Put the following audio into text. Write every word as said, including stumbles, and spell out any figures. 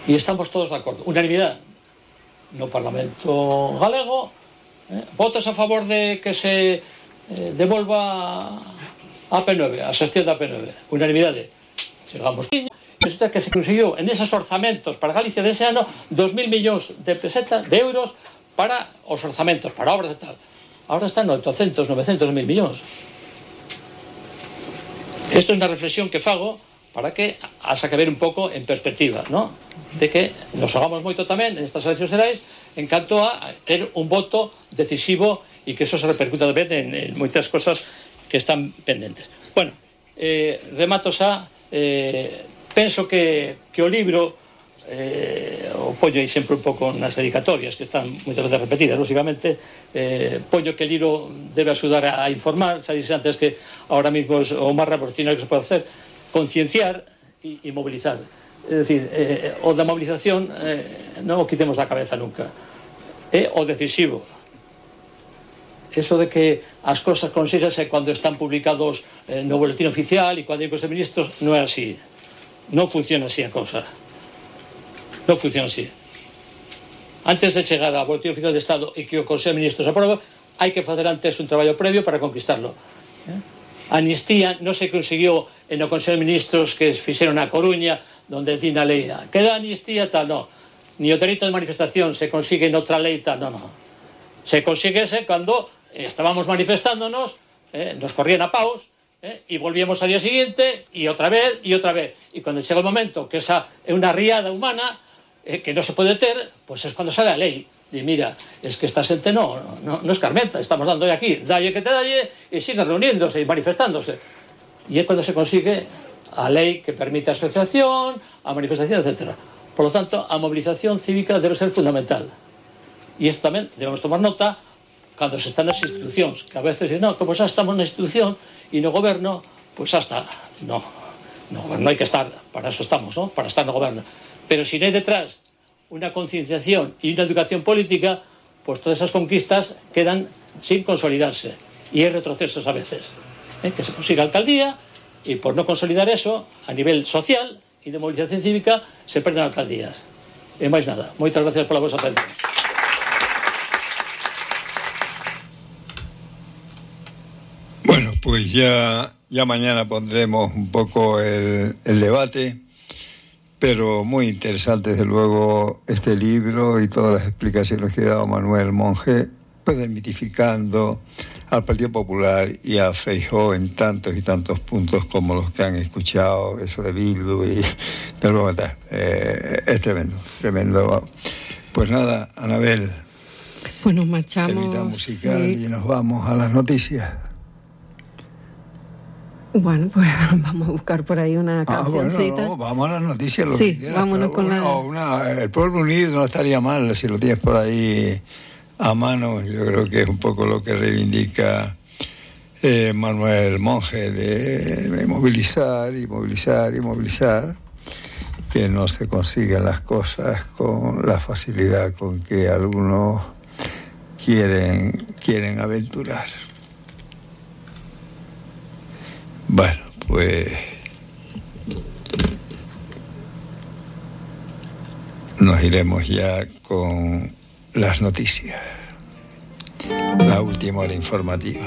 E estamos todos de acordo, unanimidade no Parlamento galego, eh, votos a favor de que se eh, devolva a P nove, a xestión da P nove, unanimidade. Chegamos resulta que se conseguiu en esos orzamentos para Galicia dese ano dos mil millóns de pesetas, de euros para os orzamentos, para obras e tal. Ahora están oitocentos, novecentos mil millóns. Isto é unha reflexión que fago para que haxa que ver un pouco en perspectiva, ¿no? De que nos hagamos moito tamén en estas eleccións xerais en canto a ter un voto decisivo e que eso se repercuta tamén en, en moitas cosas que están pendentes. Bueno, eh, remato xa, eh, penso que, que o libro eh, o poño aí sempre un pouco nas dedicatorias que están moitas veces repetidas, lógicamente eh, poño que el libro debe axudar a informar, xa dixes antes que ahora mismo es o máis revolucionario que se pode hacer, concienciar e, e mobilizar. É dicir, eh, o da movilización eh, non o quitemos da cabeza nunca, é o decisivo. Eso de que as cosas consíguese cando están publicados eh, no boletín oficial e cando hai cos ministros, non é así, non funciona así a cosa. Non funciona así. Antes de chegar ao boletín oficial de Estado e que o Consello de Ministros aprobe, hai que facer antes un traballo previo para conquistarlo. Eh? A amnistía non se conseguiu en o Consello de Ministros que fixeron na Coruña, donde decían a lei, que da amnistía, tal, non. Ni o dereito de manifestación se consigue en outra lei, tal, non, non. Se consiguese cando estábamos manifestándonos, eh, nos corrían a paus, eh, e volvíamos ao día siguiente, e outra vez, e outra vez. E cando chega o momento que esa é unha riada humana, eh, que non se pode ter, pois pues é cando sale a lei. E mira, es que esta xente non no, no escarmenta, estamos dando aquí, dalle que te dalle, e siguen reuniéndose e manifestándose. E é cando se consigue a lei que permite a asociación, a manifestación, etcétera. Por lo tanto, a movilización cívica debe ser fundamental. E isto tamén debemos tomar nota cando se están nas institucións, que a veces dicen, no, como xa estamos na institución e no goberno, pois xa está. No, no goberno hai que estar, para eso estamos, ¿no? Para estar no goberno. Pero si non hai detrás unha concienciación e unha educación política, pois todas esas conquistas quedan sin consolidarse. E hai retrocesos a veces. ¿Eh? Que se consiga alcaldía, e por non consolidar eso, a nivel social e de movilización cívica, se perden alcaldías. E máis nada. Moitas gracias pola vosa atención. Bueno, pues ya, ya mañana pondremos un poco el, el debate, pero muy interesante desde luego este libro y todas las explicaciones que ha dado Manuel Monge, pues desmitificando al Partido Popular y a Feijóo en tantos y tantos puntos como los que han escuchado, eso de Bildu y de luego tal. Eh, es tremendo, tremendo. Pues nada, Anabel, pues nos marchamos, temita musical, sí. Y nos vamos a las noticias. Bueno, pues vamos a buscar por ahí una cancioncita. Ah, bueno, no, vamos a las noticias, lo sí, que quieras. Vámonos con bueno, la... una, el Pueblo Unido no estaría mal si lo tienes por ahí a mano. Yo creo que es un poco lo que reivindica eh, Manuel Monge, de, de movilizar y movilizar y movilizar, que no se consiguen las cosas con la facilidad con que algunos quieren, quieren aventurar. Bueno, pues nos iremos ya con las noticias, la última hora informativa.